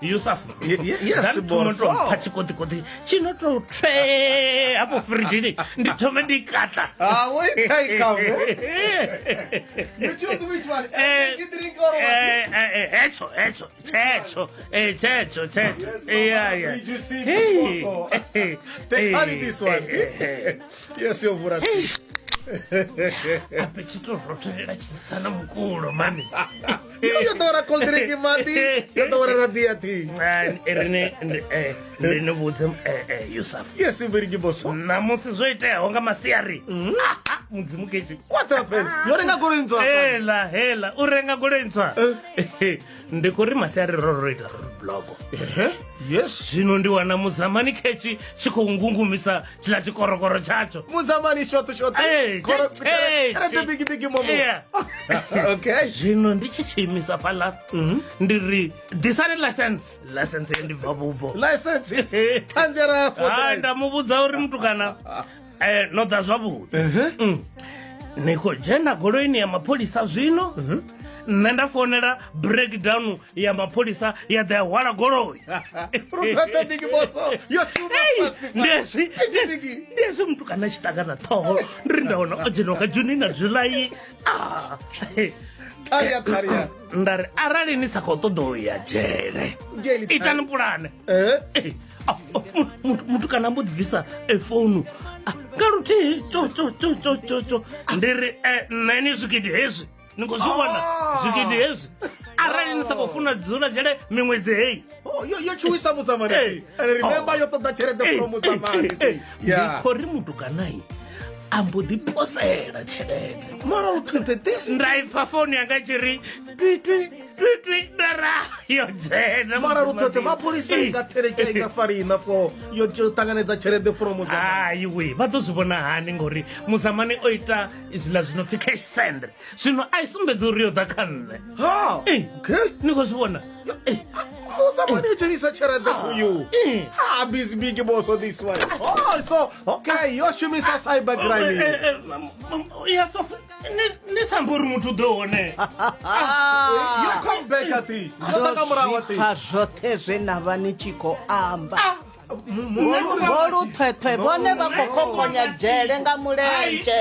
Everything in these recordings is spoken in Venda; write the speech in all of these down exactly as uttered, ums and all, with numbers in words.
Yusuf Ye- ye- yes, boss. pha tshikoḓikoḓi tshi no tou tswee hafho firidzhini ndi thome ndi katla Ah, wait, hey, come. You choose which one? Eh, Energy drink or what? eh, eh, eh, hetsho hetsho tshetsho eh, tshetsho tshetsho Yes, Yeah, yeah. Did you see Hey, also? eh, They carry eh, this one. eh, eh. Yes, you're right. Ape tshi tou rothelela tshisana mukulo mani. Yo ḓowela cold drink maḓi, yo ḓowela na beer tea. Rini ndi ni vhudze eh, eh, Yusuf Yes, Mbiriki boss. ṋamusi zwo iteaho nga masiari. Ah, ah, mudzimu ketshi What happened? Yo renga goloi ntswa. hela hela u renga goloi ntswa ndi khou ri masiari ro ro ita roadblock Eh? Yes. zwino ndi wana muzamani khetshi tshi khou ngungumisa tshiḽa tshikorokoro tshatsho Muzamani short short. Eh, Koro- eh, Tshelede bigi bigi momo. Yeah. Okay. Zwino ndi tshi tshi imisa fhaḽa ndi ri ḓisani license license ye ndi bva vhubvo License is Tanzania for Ah, drive. nda mu vhudza uri mutukana eh, no ḓa zwavhuḓi Mm. Ni khou dzhena goloini ya mapholisa zwino nṋe nda founela breakdown ya mapholisa ya ḓa ya hwala goloi. Rupete bigi boss. Yo shuma Ei, fast. ndi hezwi Bigi bigi. ndi hezwi mutukana a tshi ṱangana ṱhoho ndi ri nda wana o dzheniwa nga June na July. Ah. Tharia tharia. Nda ri arali ni sa khou ṱoḓa u ya dzhele Dzhele, itani pulane. Eh? Eh, ah, oh, muthu- muthu- muthu kana mbo ḓi bvisa eh, founu Ah, nga luthihi tso tso tso tso tso tso ndi ri eh, nṋe ni zwigidi hezwi ni khou zwi vhona Ah. zwigidi hezwi arali ni sa khou funa dzula dzhele miṅwedzi heyi. Oh, yo yo tshuwisa muzamani. Eh. And remember Oh. yo ṱoḓa tshelede Eh, from eh, muzamani. eh, eh. Ndi Yeah. khou ri muthu kanai a mbo ḓi posela tshelede. Mara uthuthe this. Nda ipfa founu yanga i tshi ri twi twi twi twi nda ra yo dzhena. Mara Mudzimu luthothe wa mapholisa Eh, inga theleke inga farina for yo yo ṱanganedza tshelede from muzamani. Hayi we vha ḓo zwi vhona hani ngori muzamani o ita zwiḽa zwino pfi cash send zwino a i sumbedza uri yo ḓa kha nṋe. Ha. Eh, Okay. ni khou zwi vhona. Eh, Muzamani u dzhenisa tshelede to you. Eh. Ah, busy big boss on this one. Oh, so okay, yo shumisa cyber crime. Eh, eh, eh, ya sof ni- ni sa ambi uri muthu u ḓo hone. Yo come back at it. Yo Ndo ḓa nga murahu at zwi pfa zwoṱhe zwe na vha ni tshi khou amba. Vho Luthwethwe vhone vha khou khokhonya dzhele nga mulenzhe.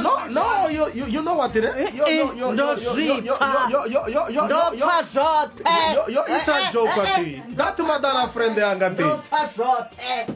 No, no, you you, you know what it is? Yo yo yo Ndo yo yo zwi yo pfa. yo yo yo yo Ndo yo pfa zwoṱhe. yo yo ita joke ati. That madara friend yanga Ndo ti. pfa zwoṱhe.